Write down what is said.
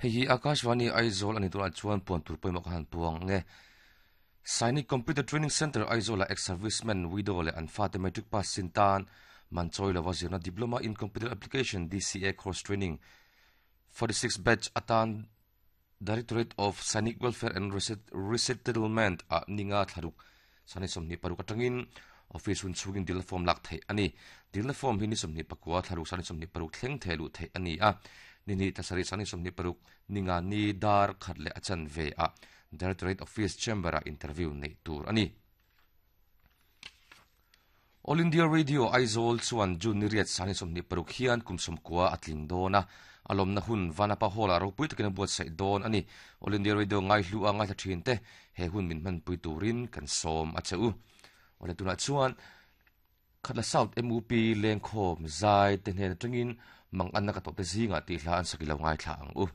Hei hi Akashvani Aizawl a ni tunah chuan puan tur pawimawh ka han puang ang e. Sainik Computer Training Centre Aizawl-ah ex-servicemen, widow leh an fate matric pass sin tan man chawi lova zirna Diploma in Computer Application, DCA, course training 46 batch atan Directorate of Sainik Welfare and Resettlement ah ninga thlaruk sani 26 atangin office hun chhungin dilna form lak theih a ni. Dilna form hi ni 24 thlaruk sani 26 thleng theh luh theih a ni a. Ni hnih thla sarih sani 26 ninga ni dar khat leh a chanve ah Directorate Office Chamber ah interview neih tur a ni. All India Radio Aizawl chuan June ni riat sani 26 hian kum 90 a tling dawn a, a lawmna hun Vanapa Hall-ah ropui takin a buatsaih dawn a ni. All India Radio ngaihlu a ngaithla thin te he hun min hmanpui turin kan sawm a che u. Awle tunah chuan Khatla South MUP lengkhawm zai te hnen atangin Manganna ka tawhte zingah tih hla an sak i lo ngaithla ang u.